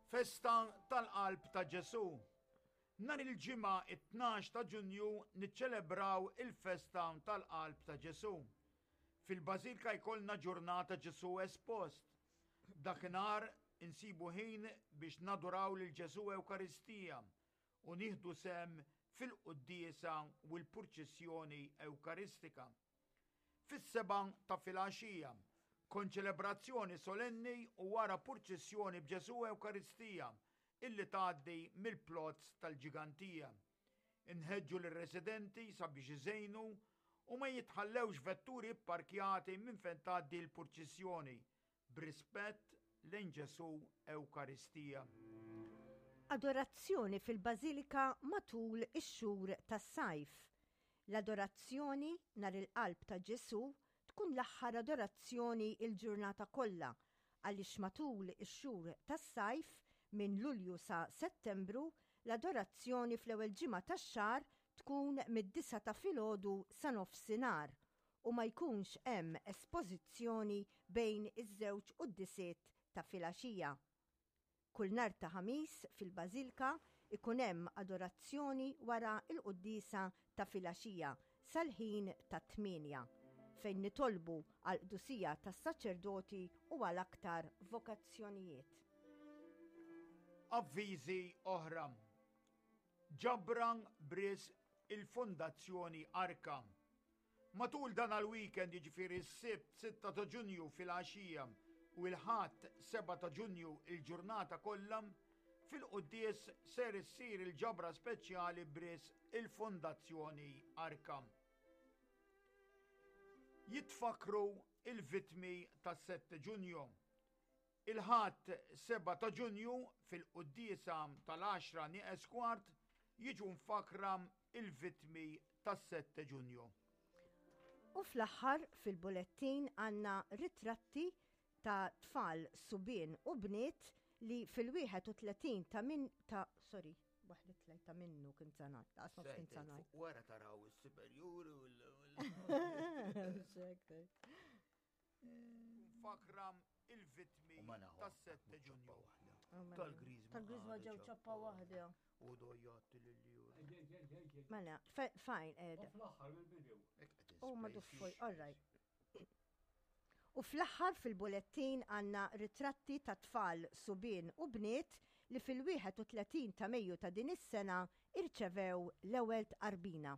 Festa tal-Qalb ta' Ġesù. Nhar il-Ġimgħa it-12 ta' Ġunju niċċelebraw il-festa tal-Qalb ta' Ġesù. Fil-Bażilka jkollna ġurnata Ġesù Espost. Dakinhar insibu ħin biex naduraw lil Ġesù Ewkaristija u nieħdu sehem fil-quddiesa u l-purċissjoni Ewkaristika. Fis-sebgħa ta' filgħaxija, konċelebrazzjoni solenni u wara purċissjoni b'Ġesù Ewkaristija illi tgħaddi mill-plozz tal-Ġigantija. Inħeġġu lir-residenti sabiex iżejnu u ma jitħallewx vetturi pparkjati minn fejn tgħaddi l-purċissjoni b'rispett lejn Ġesù Ewkaristija. Adorazzjoni fil-Bażilika matul ix-xhur tas-sajf. L-adorazzjoni nhar il-Qalb ta' Ġesù tkun l-aħħar adorazzjoni l-ġurnata kollha għaliex matul ix-xhur tas-sajf minn Lulju sa Settembru l-adorazzjoni fl-ewwel ġimgħa tax-xahar tkun mid-disgħa ta' filgħodu sa nofsinhar u ma jkunx hemm espożizzjoni bejn iż-żewġ quddisiet ta' filgħaxija. Kull nhar ta' Ħamis fil-Bażilka jkun hemm adorazzjoni wara l-quddiesa ta' filgħaxija sal-ħin tat-tmienja, fejn nitolbu għall-qdusija tas-saċerdoti u għal aktar vokazzjonijiet. Avviżi oħra. Ġabra b'risq il-Fondazzjoni Arka. Matul dan għal-weekend jiġifieri s-Sibt 6 ta' Ġunju filgħaxija u l-Ħadd 7 ta' Ġunju il-ġurnata kollha, fil-quddies ser issir il-ġabra speċjali b'risq il-Fondazzjoni Arka. Jitfakkru il-vittmi tas-7 Ġunju. Il-Ħadd 7 ta' Ġunju fil-quddiesa tal-għaxra nieqes kwart jiġu mfakkra l-vittmi tas-Sette Ġunju. U fl-aħħar fil-bulettin għandna ritratti ta' tfal subien u bniet li fil-31 ta' min ta' sorry, waħda tlajt ta' minnu kien sanat, ta' nofs kien sanat. Wara taraw is-superjuri u l. Fakra il-vittmi tas-7 Ġunju. Tal-Griżma. Tal-Griżma ġew ċappa waħda. U dojjat lil Mela, fajn, ed. Fl-aħħar mill-bidu. U ma duffoj, all right. U fl-aħħar fil-bulettin għandna ritratti ta' tfal subien u bniet li fil-31 ta' Mejju ta' din is-sena irċevew l-ewwel tqarbina.